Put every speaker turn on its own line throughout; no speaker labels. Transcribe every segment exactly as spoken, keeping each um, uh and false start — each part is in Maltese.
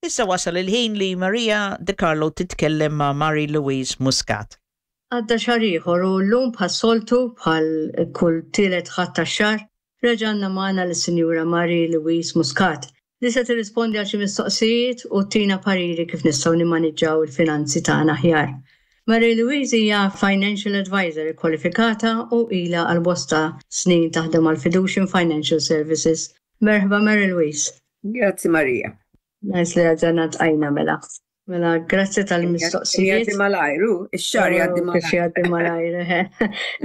Issa wasal il-ħin li Maria De Carlo titkellem ma' Marie Louise Muscat.
Għadda xahar ieħor u llum bħas-soltu, bħal kull tielet Ħadd tax-xahar, reġa' għandna magħna lis-Sinjura Marie Louise Muscat li se tirrispondi għal xi mistoqsijiet u ttina pariri kif nistgħu nimmaniġġaw il-finanzi tagħna aħjar. Marie Louise hija financial advisor kwalifikata u ilha għal bosta snin taħdem għal Fiducian Financial Services. Merħba, Marie Louise.
Grazzi, Maria.
Nice li erġajna ltqajna mela. Mela, grazzi tal-mistoqsijiet.
Jgħaddi malajr, ix-xahar jgħaddi.
Oh, kif jgħaddi malajr,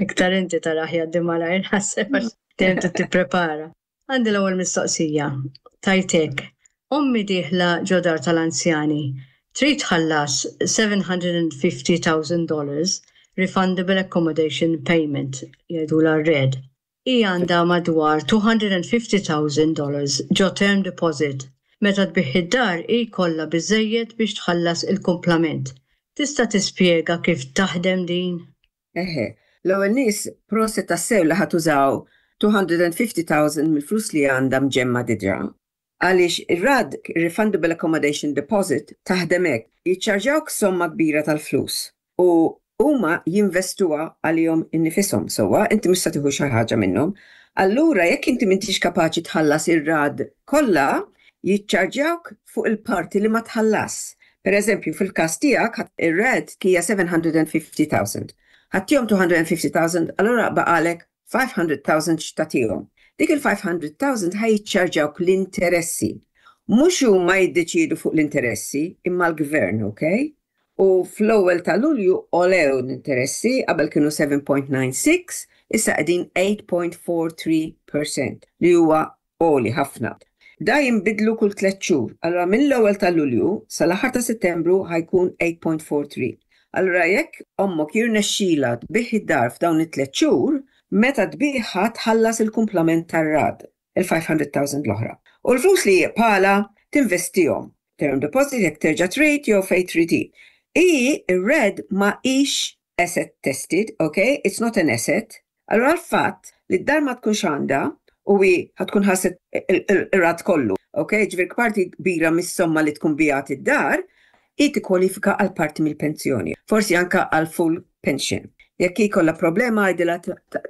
iktar inti taraħ jgħaddi malajr, ħasseb għax dejjem tipprepara. Għandi l-ewwel mistoqsija. Tajtek, ommi dieħla ġo dar tal-anzjani, trid tħallas seven hundred and fifty thousand dollars refundable accommodation payment, jgħidula R A D. Hi għandha madwar two hundred and fifty thousand dollars ġo term deposit. Meta tbigħ id-dar ikollha biżejjed biex tħallas il-kumplament. Tista' tispjega kif taħdem din?
Eħe, l-ewwel nett prosit tassew li ħa tużaw two hundred and fifty thousand mill-flus li għandha mġemma diġà. Għaliex ir-R A D, Refundable Accommodation Deposit, taħdem hekk, jiċċarġawk somma kbira tal-flus u huma jinvestuha għalihom innifisom sewwa, inti mhux se tieħu xi ħaġa minnhom. Allura jekk inti m'intix kapaċi tħallas ir-R A D kollha, jiċċarġawk fuq il-parti li ma tħallas. Per eżempju, fil-każ tiegħek ir-R A D hija seven hundred and fifty thousand. Ħa ttihom two hundred and fifty thousand, allura baqalek five hundred thousand x'tagħtihom. Dik il-five hundred thousand ħa jiċċarġawk l-interessi. Mhux huma jiddeċidu fuq l-interessi, imma l-gvern, ok? U fl-ewwel ta' Lulju għolew l-interessi, qabel kienu seven point nine six, issa qegħdin eight point four three percent li huwa għoli ħafna. Da jinbidlu kull tliet xhur. Allura mill-ewwel ta' Lulju sal-aħħar ta' Settembru ħa jkun eight point four three. Allura jekk ommok jirnexxila tbigħ id-dar f'dawn it-tliet xhur, meta tbigħha tħallas il-kumplament tar-R A D, il-five hundred thousand l-oħra. U l-flus li jibqgħalha tinvestihom. Term deposit jekk terġa' trid jew fejn trid. I ir-R A D ma hix asset tested, okay? It's not an asset. Allura l-fatt li d-dar ma tkunx għandha u hi ħa tkun ħallset ir-R A D kollu, ok? Ġifieri parti kbira mis-somma li tkun biegħet id-dar, hi tikkwalifika għal parti mill-pensjoni, forsi anka għal full pension. Jekk ikollha problema, għidilha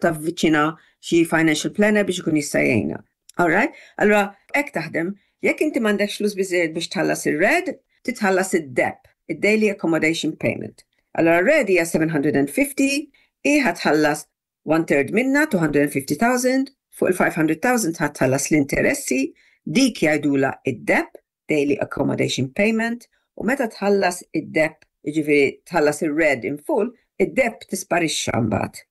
tavviċina xi financial planner biex ikun jista' jgħinha. Alright? Allura hekk taħdem, jekk inti m'għandekx flus biżejjed biex tħallas ir-R A D, titħallas id-D A P, id-Daily Accommodation Payment. Allura R A D hija seven hundred and fifty, hi ħa tħallas one third minna, two hundred and fifty thousand, fuq il-five hundred thousand ħa tħallas l-interessi, dik jgħidula id-D A P, Daily Accommodation Payment, u meta tħallas id-D A P, jiġifieri tħallas ir-R A D in full, id-D A P tisparixxa mbagħad.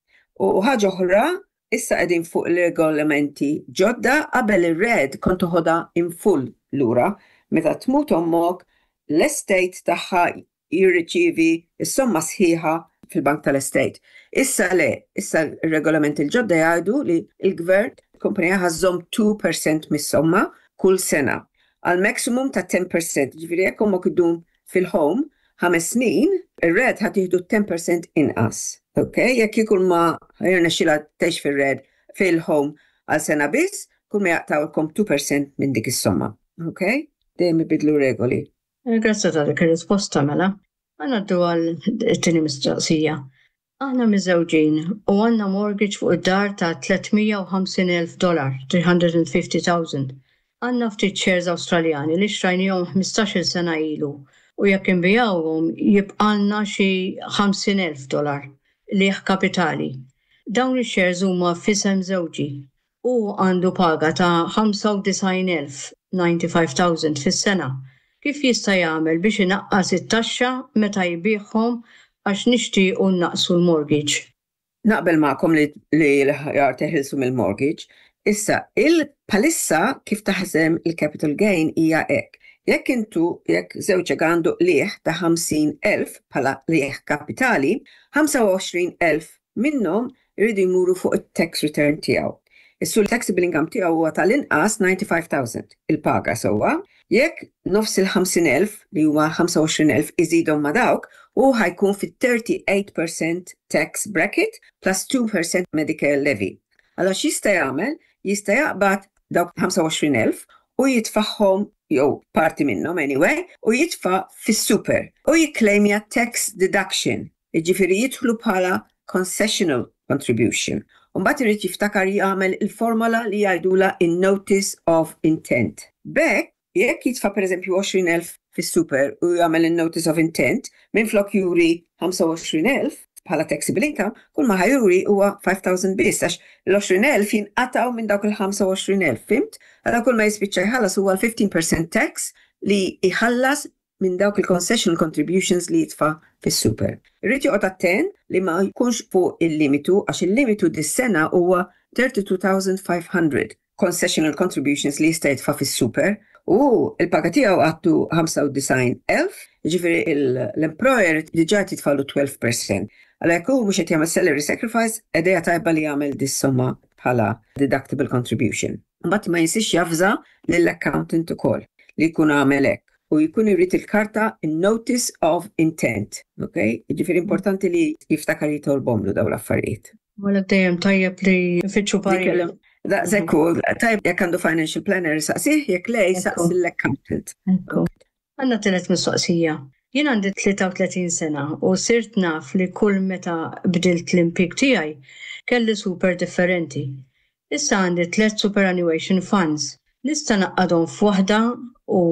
U ħaġa oħra, issa qegħdin fuq il-regolamenti ġodda, qabel ir-R A D kont toħodha in full lura, meta tmut ommok, l-estate tagħha jirriċivi s-somma sħiħa fil-bank tal-estate. Issa le, issa il-regolamenti l-ġodda jgħidu li il-gvern, kumpanija ħa żżomm two percent mis-somma kull sena għal maximum ta' ten percent. Ġifieri jekk ommok idum fil-home ħames snin, ir-R A D ħa tieħdu ten percent inqas. Ok, jekk ikun ma jirnexxila tgħix fir-R A D fil-home għal sena biss, kull ma jaqtawlkom two percent minn dik is-somma. Ok? Dejjem ibidlu regoli.
Grazzi ta' dik ir-risposta mela. Ngħaddu għal it-tieni mistoqsija. Aħna miżżewġin u għandna mortgage fuq id-dar ta' tliet mija u ħamsin elf dollar, three hundred and fifty thousand. Għandna ftit shares Awstraljani li xtrajnihom ħmistax-il sena ilu u jekk inbigħuhom jibqalna xi ħamsin elf dollar qligħ kapitali. Dawn ix-shares huma f'isem żewġi u għandu paga ta' ħamsa u disgħin elf, ninety-five thousand fis-sena. Kif jista' jagħmel biex inaqqas it-taxxa meta jbigħhom, għax nixtiequ naqsu l-mortgage?
Naqbel magħkom li, li l-aħjar teħilsu mill-mortgage. Issa, il-palissa kif taħdem il-capital gain hija hekk. Jekk intu, jekk żewġek għandu qligħ ta' ħamsin elf bħala qligħ kapitali, ħamsa u għoxrin elf minnhom iridu jmuru fuq it-tax return tiegħu. Issu l-taxable income tiegħu huwa tal-inqas ninety-five thousand il-paga sewwa. Jekk nofs il-ħamsin elf li huwa ħamsa u għoxrin elf iżidhom ma' dawk, u ħa jkun fit-thirty-eight percent tax bracket plus two percent Medicare levy. Allora x'jista' jagħmel? Jista' jaqbad dawk ħamsa u għoxrin elf u jitfagħhom jew parti minnhom anyway, u jitfa' fis-super u jikklejmja tax deduction. Jiġifieri jidħlu bħala concessional contribution. U mbagħad irid jiftakar jagħmel il-formola li jgħidula in-notice of intent. B'hekk, jekk jitfa' pereżempju għoxrin elf fis-super u jagħmel il-notice of intent, minflok juri ħamsa u għoxrin elf bħala taxable income, kull ma ħa juri huwa five thousand biss, għax l-għoxrin elf jinqataw minn dawk il-ħamsa u għoxrin elf, fhimt? Għala kull ma jispiċċa jħallas huwa l-fifteen percent tax li jħallas minn dawk il-concessional contributions li jitfa' fis-super. Irrid joqgħod attent li ma jkunx fuq il-limitu, għax il-limitu dis-sena huwa tlieta u tletin elf u ħames mija concessional contributions li jista' jitfa' fis-super u il-paga tiegħu għattu ħamsa u disgħin elf, jiġifieri l-employer diġà jitfagħlu tnax fil-mija. Għalhekk hu mhux qed jagħmel salary sacrifice, idea tajba li jagħmel dis-somma bħala deductible contribution. Mbagħad ma jinsiex javża lill-accountant ukoll li jkun għamel hekk u jkun irid il-karta notice of intent. Ok? Jiġifieri importanti li jiftakar jitolbhomlu dawn l-affarijiet.
Wala dejjem tajjeb li fittxu parir.
Daqshekk hu, tajjeb jekk għandu financial planner saqsih, jekk le saqsi l-accountant.
Għandna tielet mistoqsija. Jien għandi tlieta u tletin sena u sirt naf li kull meta bdilt l-impjieg tiegħi kelli super differenti. Issa għandi tliet superannuation funds. Nista' ngħaqqadhom f'waħda u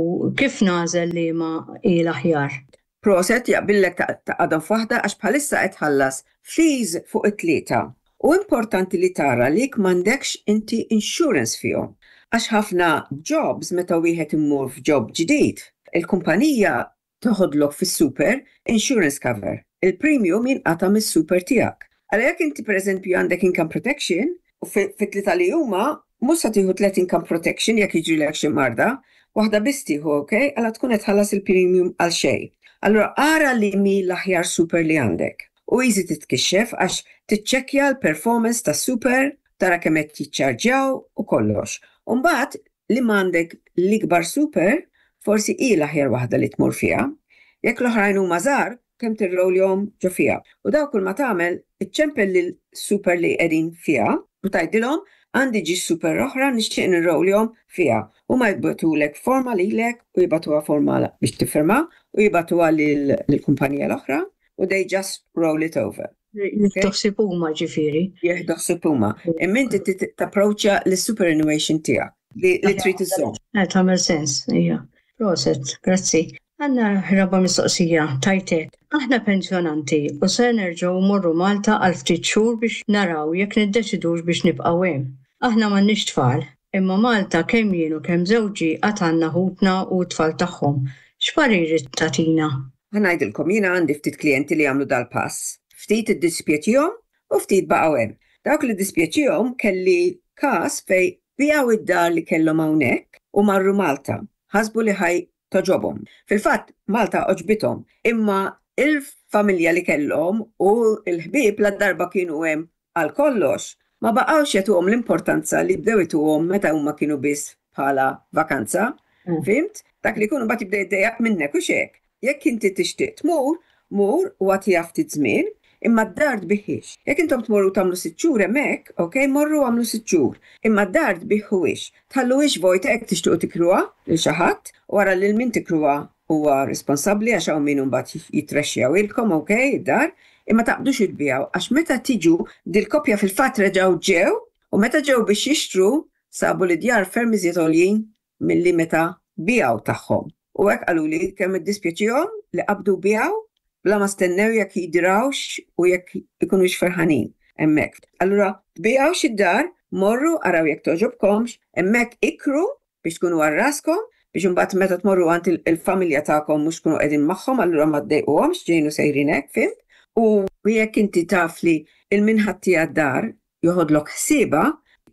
kif nagħżel li ma hi l-aħjar?
Proset, jaqbillek tgħaqqadhom f'waħda għax bħalissa qed tħallas fees fuq it-tlieta. U importanti li tara li m'għandekx inti insurance fihom. Għax ħafna jobs, meta wieħed imur f'job ġdid, il-kumpanija toħodlok fis-super insurance cover. Il-premium jinqata' mis-super tiegħek. Għalhekk jekk inti pereżempju għandek income protection, u fit-tlieta li huma mhux se tieħu tliet income protection jekk jiġrilek xi marda, waħda biss tieħu, ok? Għala tkun qed tħallas il-premium għal xejn. Allura ara li mi l-aħjar super li għandek. U easy titkixxef għax tiċċekkja l-performance ta' super, tara kemm qed jiċċarġjaw u kollox. U mbagħad li m'għandek l-ikbar super, forsi hi l-aħjar waħda li tmur fiha. Jekk l-oħrajn huma żgħar, kemm tirrowljhom ġo fiha. U daw kull ma tagħmel, iċċempel lil super li qegħdin fiha u tgħidilhom għandi ġi super oħra, nixtieq nirrowljhom fiha. U ma jibagħtulek forma lilek u jibagħtuha forma biex tiffirma u jibagħtuha lill-kumpanija l-oħra u they just roll it over.
Jieħdu ħsieb huma ġifieri.
Jieħdu ħsieb huma. Imma inti tapproċċja l-superannuation tiegħek li trid iżżomm.
Eh, tagħmel sens, ija. Proset, grazzi. Għandna raba' mistoqsija, tajtek. Aħna pensjonanti u se nerġgħu morru Malta għal ftit xhur biex naraw jekk niddeċidux biex nibqgħu hemm. Aħna m'għandniex tfal, imma Malta kemm jien u kemm żewġi għad għandna ħutna u t-tfal tagħhom. X'pariri tagħtina?
Ħa ngħidilkom, jiena għandi ftit klijenti li għamlu dal-pass. Ftit iddispjaċihom u ftit baqgħu hemm. Dawk li dispjaċihom, kelli każ fejn biegħu id-dar li kellhom hawnhekk u marru Malta. Ħasbu li ħa togħġobhom. Fil-fatt Malta għoġbithom, imma il-familja li kellhom u l-ħbieb la darba kienu hemm għal kollox, ma baqgħux jagħtuhom l-importanza li bdew jtuhom meta huma kienu biss bħala vakanza. Mm. Fhimt? Dak li jkunu mbagħad jibda jiddejjaq minnek u xek. Jekk inti tixtieq tmur, mur u agħtiha ftit żmien, imma d-dar tbigħhiex. Jekk intom tmorru tagħmlu sitt xhur hemmhekk, ok, morru għamlu sitt xhur. Imma d-dar tbigħuhiex. Tħalluhiex vojta jekk tixtiequ tikruha lil xi ħadd, wara lil min tikruha huwa responsabbli għax hawn min mbagħad jitrexxjawilkom, ok, id-dar, imma taqbdux tbigħu għax meta tiġu dil-koppja fil-fatt reġgħu ġew u meta ġew biex jixtru sabu li djar ferm iżjed għoljin milli meta biegħu tagħhom. U hekk qaluli kemm iddispjaċihom li qabdu biegħu bla ma stennew jekk jidrawx u jekk ikunux ferħanin hemmhekk. Allura tbigħux id-dar, morru araw jekk togħġobkomx, hemmhekk ikru biex tkunu għal raskom, biex imbagħad meta tmorru għand il-familja tagħkom mhux tkunu qegħdin magħhom, allura ma ddejquhomx ġejnu sejrin hekk, fhimt? U jekk inti taf li il-minħatti għad-dar joħodlok ħsieba,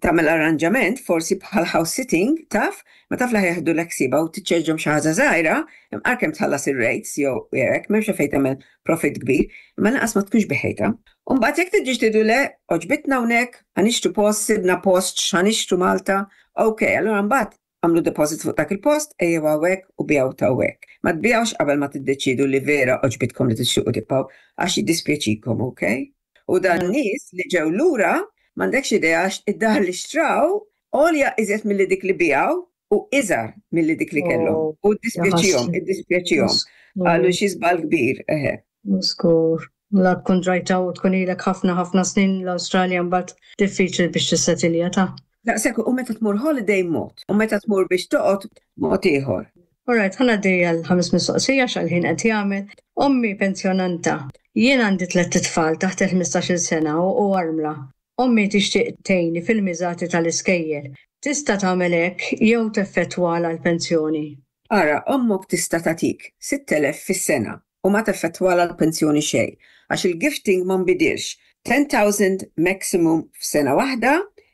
tagħmel arranġament forsi bħal house sitting, taf, ma taf li ħa jeħdulek ħsiebha u tiċċarġjahom xi ħaġa żgħira, imqar kemm tħallas ir-rates jew hekk, m'hemmx fejn tagħmel profit kbir, imma lanqas ma tkunx bigħtha. U mbagħad jekk tiġi tgħidu le, għoġbitna hawnhekk, ħa nixtru post, sibna post, ħa nixtru Malta, ok, allura mbagħad għamlu deposit fuq dak il-post, ejjew hawnhekk u biegħu ta' hawnhekk. Ma tbigħux qabel ma tiddeċidu li vera għoġbitkom li tixtiequ tibqgħu għax jiddispjaċikom, ok? U dan nies li ġew lura, m'għandekx idea, id-dar li xtraw għolja iżjed milli dik li biegħu u iżgħar milli dik li kellhom.
Oh,
U ddispjaċihom,
jaħasra.
Iddispjaċihom. Qalu xi żball kbir, eħe.
Żgur. La tkun drajta u tkun ilek ħafna ħafna snin l-Awstralja, mbagħad diffiċli biex tissetilja ta'.
Daqshekk, u meta tmur holiday mod, u meta tmur biex toqgħod mod ieħor.
Alright, ħa ngħaddi għal ħames mistoqsija x'għal-ħin qed jagħmel. Ommi pensjonanta. Jien għandi tliet tfal taħt il-ħmistax-il sena u u armla. Ommi tixtieq tgħinni fil-miżati tal-iskejjel. Tista' tagħmel hekk jew teffettwalha l-pensjoni?
Ara, ommok tista' tagħtik sitt elef fis-sena u ma teffettwalha l-pensjoni xejn, għax il-gifting ma nbidilx. ten thousand maximum f'sena waħda,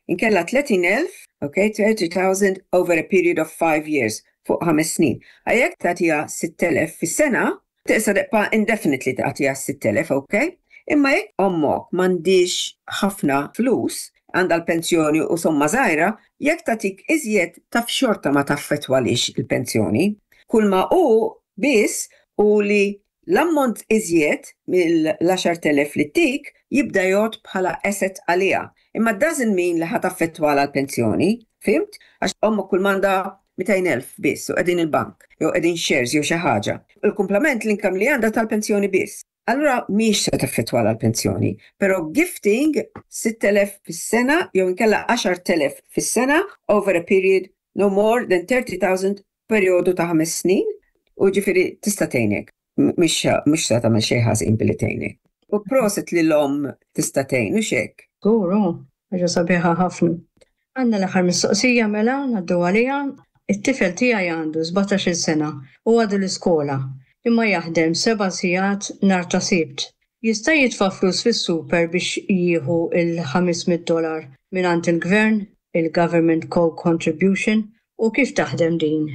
inkella tletin elf, okay, thirty thousand over a period of five years, fuq ħames snin. Jekk tagħtiha sitt elef fis-sena, tista' tibqa' indefinitely tagħtiha sitt elef, okay? Imma jekk ommok m'għandhiex ħafna flus, għandha l-pensjoni u somma żgħira, jekk tagħtik iżjed taf xorta ma taffettwalhiex il-pensjoni. Kull ma hu biss u li l-ammont iżjed mill-għaxart elef li ttik jibda jgħod bħala asset għaliha. Imma doesn't mean li ħa taffettwalha l-pensjoni, fhimt? Għax ommok kull m'għandha mitejn elf biss u qegħdin il-bank, jew qegħdin shares jew xi ħaġa. Il-kumplament l-income li għandha tal-pensjoni biss. Allura mhix se taffettwalha l-pensjoni, però gifting sitt elef fis-sena jew inkella għaxart elef fis-sena over a period no more than thirty thousand, perjodu ta' ħames snin, u ġifieri tista' tgħinek. M- Mhix mhux se tagħmel xejn ħażin billi tgħinek. U prosit li l-om tista' tgħin u xek.
Żgur, oh, ħaġa sabiħa ħafna. Għandna l-aħħar mistoqsija mela, ngħaddu għaliha. It-tifel tiegħi għandu sbatax-il sena u għadu l-iskola, imma jaħdem seba' sigħat nhar ta' Sibt. Jista' jitfa' flus fis-super biex jieħu il-ħames mitt dollar mingħand il-gvern, il-Government Co-Contribution, u kif taħdem din?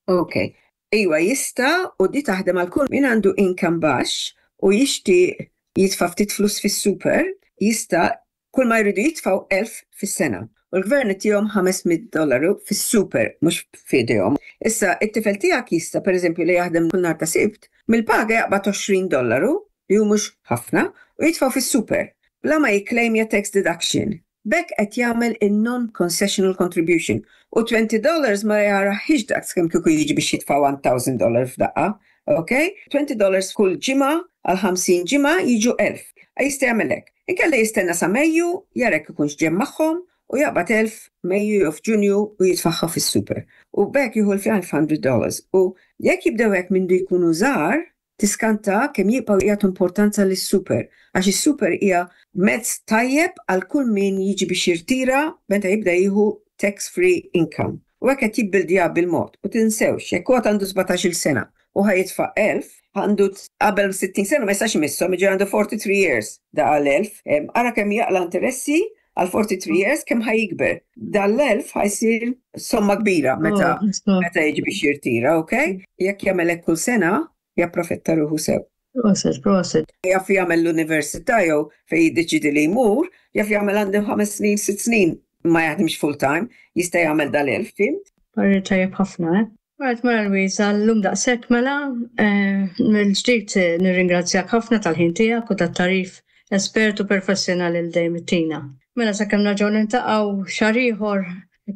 Ok. Iwa jista', u di taħdem għal kull min għandu income baxx u jixtieq jitfa' ftit flus fis-super, jista'. Kull ma jridu jitfgħu elf fis-sena. U l-gvern itihom ħames mitt dollaru fis-super, mhux f'idejhom. Issa, it-tifel tiegħek jista', pereżempju, li jaħdem kull nhar ta' Sibt, mill-paga jaqbad għoxrin dollaru, li hu mhux ħafna, u jitfgħu fis-super bla ma jikklejmja tax deduction. B'hekk qed jagħmel in-non-concessional contribution. U twenty dollars ma jarahiex daqs kemm kieku jiġi biex jitfa' one thousand dollar f'daqqa. Ok? twenty dollars kull ġimgħa għal ħamsin ġimgħa jiġu elf. Jista' jagħmel hekk. Inkella jistenna sa Mejju, jara jekk ikunx ġie magħhom, u jaqbad elf Mejju jew f'Ġunju u jitfagħha fis-super. U b'hekk jieħu l-five hundred dollars. U jekk jibdew hekk minn jkunu żgħar, tiskanta kemm jibqgħu jagħtu importanza lis-super. Għax is-super hija mezz tajjeb għal kull min jiġi biex jirtira meta jibda jieħu tax-free income. U hekk qed jibbildja bil-mod. U tinsewx, jekk huwa għandu sbatax-il sena u ħa jitfa' elf, għandu qabel sittin sena ma jistax imisshom, jiġi għandu forty-three years da għal elf. Ara kemm jaqla interessi għal forty-three years, kemm ħa jikber. Dal-elf ħa jsir somma kbira meta
Oh,
meta jiġi biex jirtira, ok? Jekk jagħmel hekk kull sena, japprofitta ruħu sew.
Prosit, prosit.
Jaf jagħmel l-università jew fejn jiddeċidi li jmur, jaf jagħmel għandu ħames snin, sitt snin ma jaħdimx full time, jista' jagħmel dal-elf, fhimt?
Parir tajjeb ħafna, eh? Right, Mara Louise, għal-lum daqshekk mela, eh, mill-ġdid eh, nirringrazzjak ħafna tal-ħin tiegħek u tat-tagħrif espert u professjonali li dejjem ittina. Mela sakemm nerġgħu niltaqgħu xahar ieħor,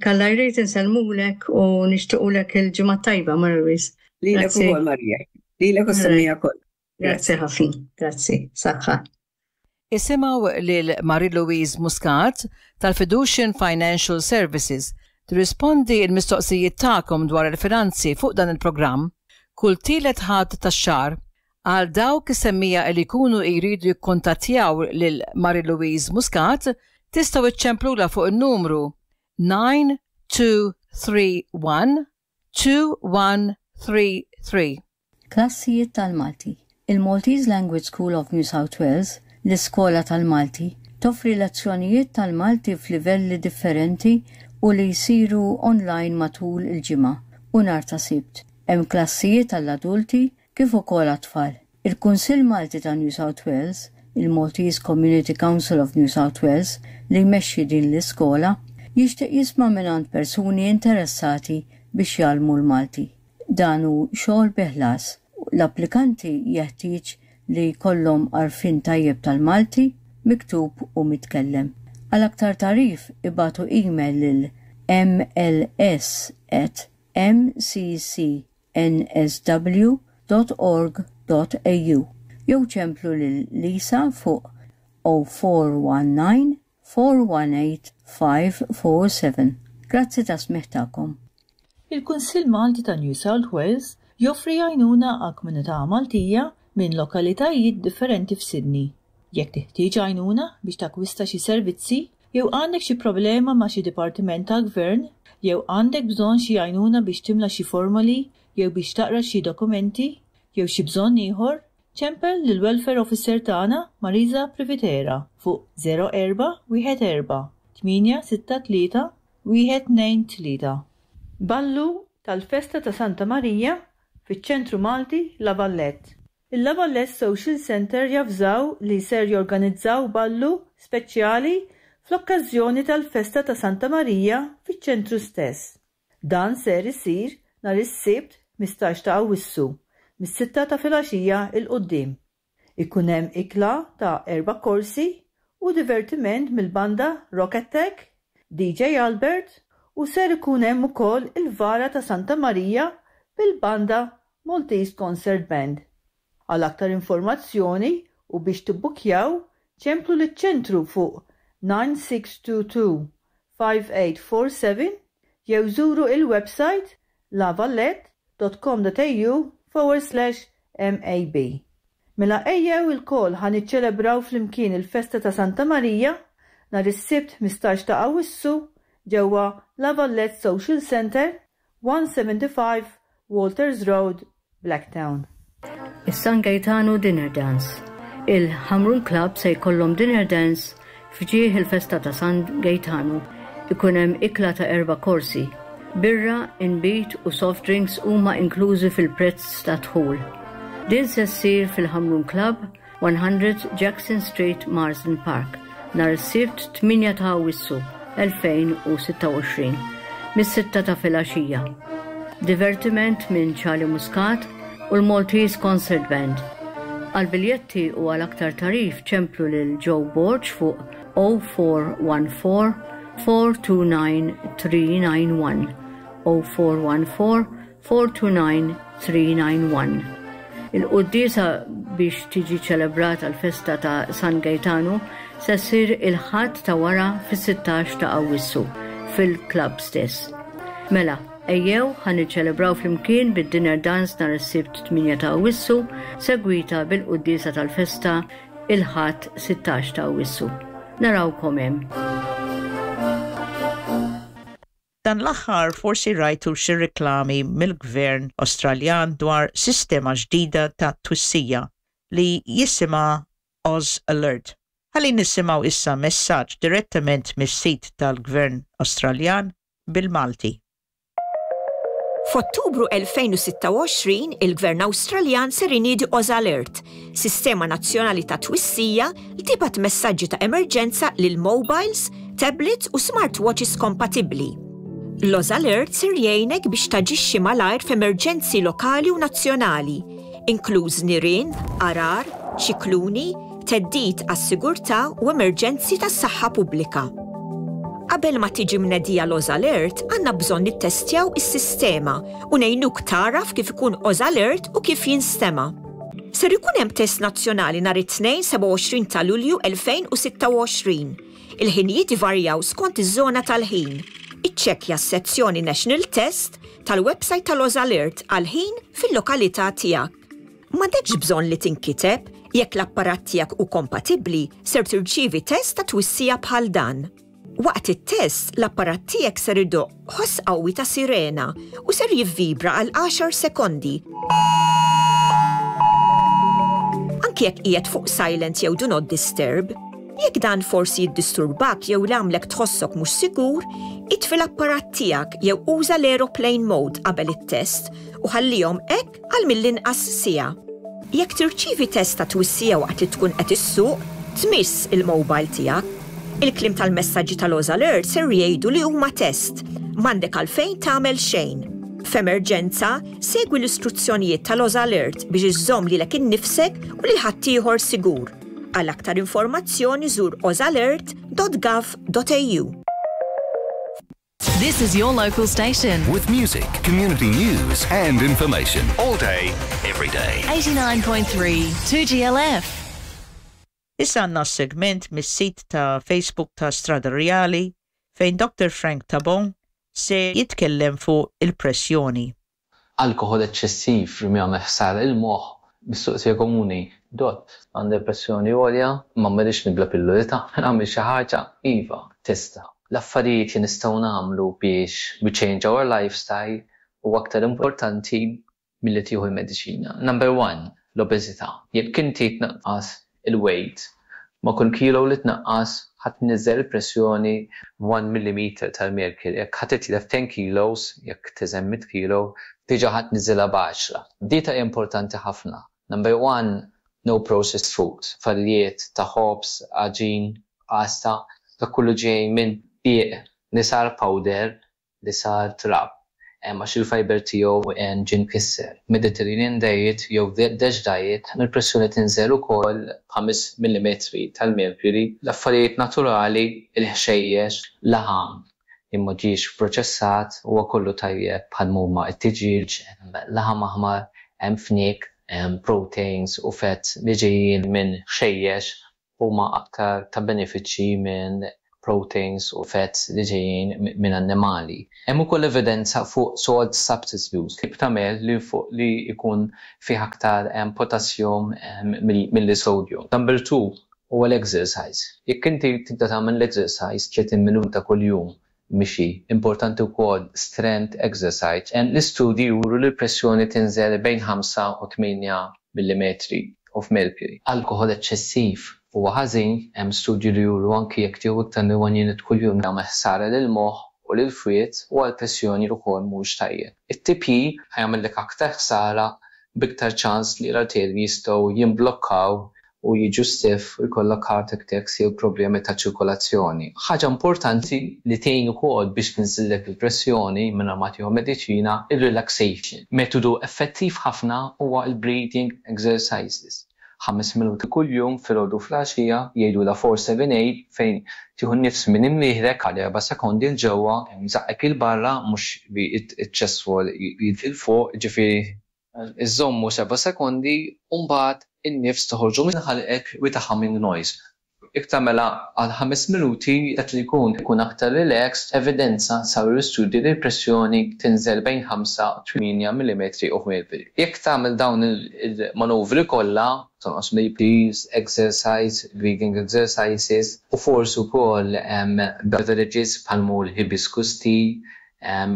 Alla jrid, insellmulek u nixtiequlek il-ġimgħa tajba, Mara Louise.
Lilek
Grazzi.
ukoll, Marija. Lilek u s-semmiegħa kollha.
Grazzi ħafna, grazzi, saħħa.
Isimgħu lil Marie-Louise Muscat tal-Fiducian Financial Services tirrispondi il-mistoqsijiet tagħkom dwar il-finanzi fuq dan il-programm kull tielet Ħadd tax-xahar. Għal dawk is-semmiegħa li jkunu jridu jikkontattjaw lil Marie-Louise Muscat, tistgħu iċċemplula fuq il-numru nine two three one two one three three.
Klassijiet tal-Malti. Il-Maltese Language School of New South Wales, l-iskola tal-Malti, toffri lezzjonijiet tal-Malti f'livelli differenti u li jsiru online matul il-ġimgħa u nhar ta' Sibt. Hemm klassijiet għall-adulti kif ukoll għat-tfal. Il-Kunsill Malti ta' New South Wales, il-Maltese Community Council of New South Wales, li jmexxi din l-iskola, jixtieq jisma' mingħand persuni interessati biex jgħallmu l-Malti. Dan hu xogħol bi ħlas. L-applikanti jeħtieġ li jkollhom għarfien tajjeb tal-Malti, miktub u mitkellem. Għal aktar tagħrif ibagħtu email lil M L S at M C C N S W dot org dot A U jew ċemplu lil Lisa fuq zero four one nine four one eight five four seven. Grazzi tas-smigħ tagħkom.
Il-Kunsill Malti ta' New South Wales joffri għajnuna għal komunità Maltija minn lokalitajiet differenti f'Sydney. Jekk teħtieġ għajnuna biex takwista xi servizzi, jew għandek xi problema ma' xi dipartiment tal-gvern, jew għandek bżonn xi għajnuna biex timla xi formoli, jew biex taqra xi dokumenti, jew xi bżonn ieħor, ċempel lil welfare officer tagħna Marisa Privitera fuq zero erba' wieħed erba' tmienja sitta tlieta wieħed tnejn tlieta. Ballu tal-Festa ta' Santa Marija fiċ-Ċentru Malti La Vallette. Il-La Vallette Social Center javżaw li ser jorganizzaw ballu speċjali fl-okkażjoni tal-Festa ta' Santa Marija fiċ-ċentru stess. Dan ser isir nhar is-Sibt ħmistax ta' Awwissu mis-sitta ta' filgħaxija 'l quddiem. Ikun hemm ikla ta' erba' korsi u divertiment mill-banda Rock Attack, D J Albert u ser ikun hemm ukoll il-vara ta' Santa Marija bil-banda Maltese Concert Band. Għal aktar informazzjoni u biex tibbukjaw, ċemplu liċ-ċentru fuq nine six two two five eight four seven jew żuru il-website lavallette dot com dot A U forward slash M A B. Mela ejjew ilkoll ħa niċċelebraw flimkien il-festa ta' Santa Marija nhar is-Sibt ħmistax ta' Awwissu ġewwa La Vallette Social Center, one seventy-five Walters Road, Blacktown.
Is-San Gaetano Dinner Dance. Il-Ħamrun Club se jkollhom dinner dance f'ġieħ il-festa ta' San Gaetano. Ikun hemm ikla ta' erba' korsi. Birra, inbid u soft drinks huma inklużi fil-prezz ta' dħul. Din se ssir fil-Ħamrun Club, one hundred Jackson Street, Marsden Park, nhar is-Sibt tmienja ta' Awwissu elfejn u sitta u għoxrin, mis-sitta ta' filgħaxija. Divertiment minn Charlie Muscat u l-Maltese Concert Band. Għal biljetti u għal aktar tagħrif ċemplu lil Joe Borg fuq zero four one four four two nine three nine one, zero four one four four two nine three nine one. Il-quddiesa biex tiġi ċelebrata l-festa ta' San Gaetano se ssir il-Ħadd ta' wara fis-sittax ta' Awwissu fil-klab stess. Mela, ejjew ħa niċċelebraw flimkien bid-dinner dance nhar is-Sibt tmienja ta' Awwissu, segwita bil-quddiesa tal-festa il-Ħadd sittax ta' Awwissu. Narawkom hemm.
Dan l-aħħar forsi rajtu xi reklami mill-Gvern Awstraljan dwar sistema ġdida ta' twissija li jisimha Oz Alert. Ħalli nisimgħu issa messaġġ direttament mis-sit tal-Gvern Awstraljan bil-Malti.
F'Ottubru elfejn u sitta u għoxrin, il-Gvern Awstraljan ser iniedi Oz Alert, sistema nazzjonali ta' twissija li tibgħat messaġġi ta' emerġenza lil mobiles, tablets u smartwatches kompatibbli. L-Oz Alert ser jgħinek biex taġixxi malajr f'emerġenzi lokali u nazzjonali, inkluż nirien, għargħar, ċikluni, theddid għas-sigurtà u emerġenzi tas-saħħa pubblika. Qabel ma tiġi mnedija l-Oz Alert, għandna bżonn nittestjaw is-sistema u ngħinuk tagħraf kif ikun Oz Alert u kif jinstema'. Ser ikun hemm test nazzjonali nhar it-Tnejn sebgħa u għoxrin ta' Lulju elfejn u sitta u għoxrin. Il-ħinijiet ivarjaw skont iż-żona tal-ħin. Iċċekkja s-sezzjoni National Test tal-website tal-Oz Alert għal-ħin fil-lokalità tiegħek. M'għandekx bżonn li tinkiteb. Jekk l-apparat tiegħek hu kompatibbli, ser tirċievi test ta' twissija bħal dan. Waqt it-test, l-apparat tiegħek ser idoqq ħoss qawwi ta' sirena u ser jivvibra għal għaxar sekondi. Anki jekk qiegħed fuq silent jew do not disturb, jekk dan forsi jiddisturbak jew jagħmlek tħossok mhux sigur, itfi l-apparat tiegħek jew uża l-aeroplane mode qabel it-test u ħallihom hekk għal mill-inqas siegħa. Jekk tirċievi test ta' twissija waqt li tkun qed issuq, tmiss il-mobile tiegħek. Il-kliem tal-messaġġi tal-Oz Alert ser jgħidu li huma test, m'għandek għalfejn tagħmel xejn. F'emerġenza, segwi l-istruzzjonijiet tal-Oz Alert biex iżżomm lilek innifsek u lil ħaddieħor sigur. Għal aktar informazzjoni żur ozalert dot gov dot A U.
This is your local station.
With music, community news, and information all day, every day.
eighty-nine point three, two G L F.
Issa għandna segment mis-sit ta' Facebook ta' Strada Rjali fejn Doctor Frank Tabon se jitkellem fuq il-pressjoni.
Alkoħol eċċessiv li jagħmel ħsara il-moħħ, mistoqsija komuni: "Dott, għandi pressjoni għolja, ma rridx nibla' pilloli ta' nagħmel xi ħaġa?" Iva, tista'. L-affarijiet li nistgħu nagħmlu biex we change our lifestyle huwa aktar importanti milli tieħu l-mediċina. Number one, l-obeżità. Jekk inti tnaqqas il-weight, ma' kull kilo li tnaqqas ħa tniżżel il-pressjoni one millimeter tal-mercury. Jekk ħa titlef ten kilos, jekk tiżen mitt kilo, diġà ħa tniżżilha b'għaxra. Dieta hija importanti ħafna. Number one, no processed food. Affarijiet ta' ħobż, għaġin, pasta, dak kollu ġej minn dqiq li sar powder, li sar trab. Għax il-fiber tiegħu ġie mkisser. Mediterranean diet jew DASH diet, il-pressjoni tinżel ukoll b'ħames millimetri tal-mercury. L-affarijiet naturali, il-ħxejjex, laħam li ma ġiex proċessat, huwa kollu tajjeb bħal huma t-tiġieġ, laħam aħmar, hemm fniek, proteins u fats li ġejjin minn ħxejjex huma aktar ta' benefiċċji minn proteins u fats li ġejjin minn annimali. Hemm ukoll evidenza fuq salt substitutes, tip ta' melħ li fuq li jkun fih aktar potassium milli sodium. Number two huwa l-exercise. Jekk inti tibda tagħmel l-exercise tletin minuta kuljum mixi, importanti wkoll strength exercise. L-istudji juru li l-pressjoni tinżel bejn ħamsa u tmienja millimetri of mercury. Alkoħol eċċessiv huwa ħażin, hemm studji li juru anki jekk tieħu iktar minn one unit kuljum jagħmel ħsara lil moħħ u lil fwied u għall-pressjoni wkoll mhuwiex tajjeb. It-tipjip ħa jagħmellek aktar ħsara b'iktar ċans li l-arterji jistgħu jimblokkaw u jiġu stiff u jkollok heart attacks jew problemi ta' ċirkolazzjoni. Ħaġa importanti li tgħin ukoll biex tinżillek il-pressjoni mingħajr ma tieħu mediċina, ir-relaxation. Metodu effettiv ħafna huwa l-breathing exercises. Ħames minuti kuljum filgħodu filgħaxija, jgħidulha four seven eight, fejn tieħu nifs minn imnieħrek għal erba' sekondi 'l ġewwa, żaqqek 'il barra, mhux li iċ-chest wall 'il fuq, ġifieri iżommu seba' sekondi u mbagħad in-nifs toħorġu minn ħalqek with a humming noise. Jekk tagħmilha għal ħames minuti, dak li jkun ikun aktar relaxed, evidenza saru l-istudji li l-pressjoni tinżel bejn ħamsa u tmienja millimetri of mercury. Jekk tagħmel dawn il-manuvri kollha, tonqos mill-piż, exercise, breathing exercises, u forsi wkoll beverages bħal l-hibiscus tea,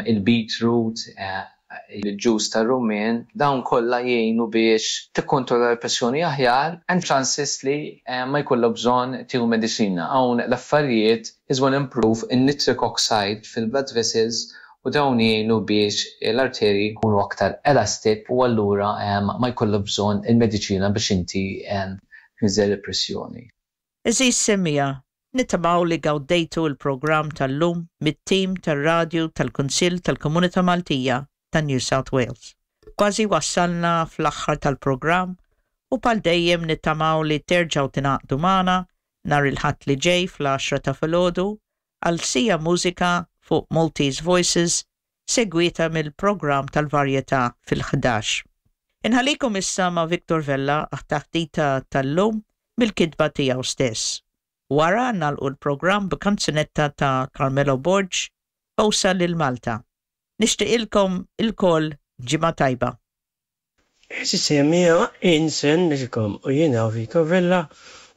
il-beetroot, il-ġus tar-rummin, dawn kollha jgħinu biex tikkontrolla l-pressjoni aħjar and chances li ma jkollok bżonn tieħu mediċina. Hawn l-affarijiet is gonna improve in-nitric oxide fil-blood vessels u dawn jgħinu biex l-arterji jkunu aktar elastic u allura ma jkollok bżonn il-mediċina biex inti tniżżel il-pressjoni.
Għeżież semmiegħa, nittamaw li gawdejtu il-programm tal-lum mit-tim tal-radju tal-Kunsill tal-Komunità Maltija ta' New South Wales. Kważi wassalna fl-aħħar tal-programm u bħal dejjem nittamaw li terġgħu tingħaqdu magħna nhar il-Ħadd li ġej fl-għaxra ta' filgħodu għal siegħa mużika fuq Maltese Voices, segwita mill-programm tal-varjetà fil-ħdax. Inħallikom issa ma' Victor Vella għat-taħdita tal-lum bil-kitba tiegħu stess. Wara nagħlqu l-programm b'kanzunetta ta' Carmelo Borg, Bewsa lil Malta. Nixtieqilkom ilkoll ġimgħa tajba.
Għeżież semmiegħa, insellmilkom u jiena Vito Vella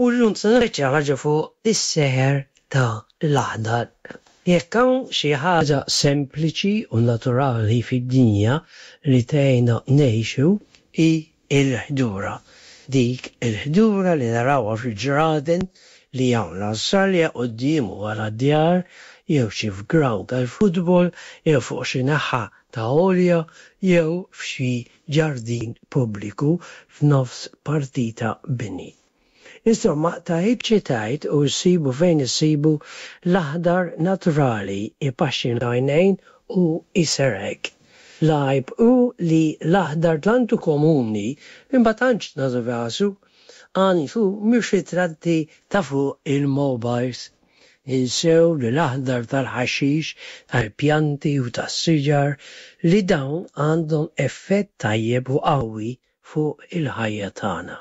u llum se ngħid xi ħaġa fuq is-seħer ta' l-aħdar. Jekk hawn xi ħaġa sempliċi u naturali fid-dinja li tgħinna ngħixu hi l-ħdura. Dik il-ħdura li narawha fil-ġraden li hawn l-Awstralja quddiem u wara d-djar, jew xi f'grawnd tal-futbol, jew fuq xi naħa ta' għolja, jew f'xi ġardin pubbliku f'nofs partita bini. Insomma, tgħid xi tgħid u ssibu fejn issibu, l-aħdar naturali jpaxxi l-għajnejn u jserrħek. L-għajb hu li l-aħdar tant hu komuni li ma tantx nagħtu kasu. Għan hu mhux ritratti ta' fuq il-mobiles. Ninsew li l-aħdar tal-ħaxix, tal-pjanti u tas-siġar, li dawn għandhom effett tajjeb u qawwi fuq il-ħajja tagħna.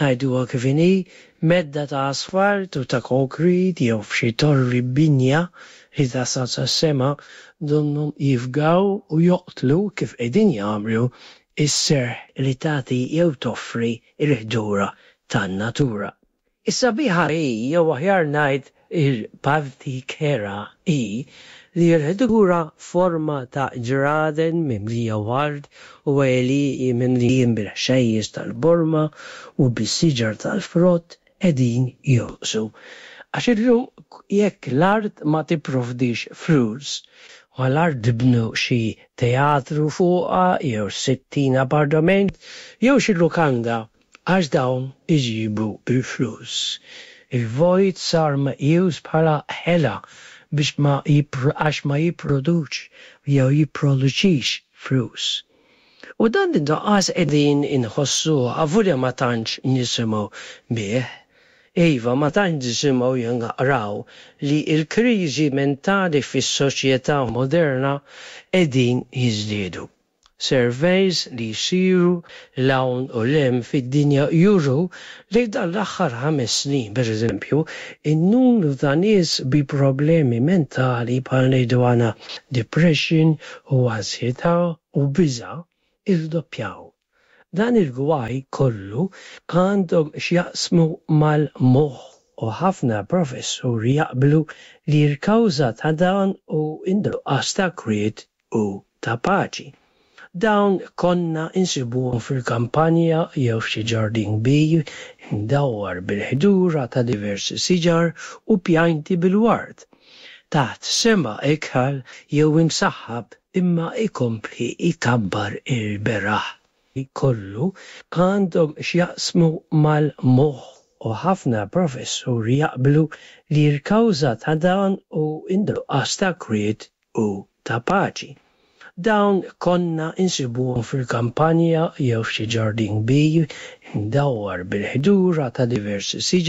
Ngħiduha kif inhi, medda ta' asfalt u ta' konkrit jew f'xi torri binja li tasal sas-sema donnhom jifgaw u joqtlu, kif qegħdin jagħmlu, is-serħ li tagħti jew toffri l-ħdura tan-natura. Is-sabiħa hi, jew aħjar ngħid il-parti kerha hi, li l-ħdura f'forma ta' ġraden mimlija ward u għelieqi mimlijin bil-ħxejjex tal-borma u bis-siġar tal-frott qegħdin jonqsu. Għax illum jekk l-art ma tipprovdix flus, mal-art tibnu xi teatru fuqha jew sittin appartament jew xi lukanda għax dawn iġibu l-flus. Il-vojt sar meqjus bħala ħela biex ma għax ma jipproduċi jew jipproduċix flus. U dan in-nuqqas qegħdin inħossuh avolja ma tantx nisimgħu bih. Iva, ma tantx nisimgħu jew naqraw li l-kriżi mentali fis-soċjetà moderna qegħdin jiżdiedu. Surveys li jsiru 'l hawn u 'l hemm fid-dinja juru li f'dan l-aħħar ħames snin, pereżempju, in-numru ta' nies bi problemi mentali bħal ngħidu aħna depression u ansjetà u biża' irdoppjaw. Dan il-gwaj kollu għandhom x'jaqsmu mal-moħħ u ħafna professuri jaqblu li l-kawża ta' dan hu n-nuqqas ta' kwiet u ta' paċi. Dawn konna nsibuhom fil-kampanja jew f'xi ġardin kbir imdawwar bil-ħdura ta' diversi siġar u pjanti bil-ward, taħt sema ikħal jew imsaħħab imma jkompli jkabbar il-beraħ. Kollu għandhom x'jaqsmu mal-moħħ u ħafna professuri jaqblu li l-kawża ta' dan hu n-nuqqas ta' kwiet u ta' paċi. Dawn konna nsibuhom fil-kampanja jew f'xi ġardin kbir imdawwar bil-ħdura ta' diversi siġar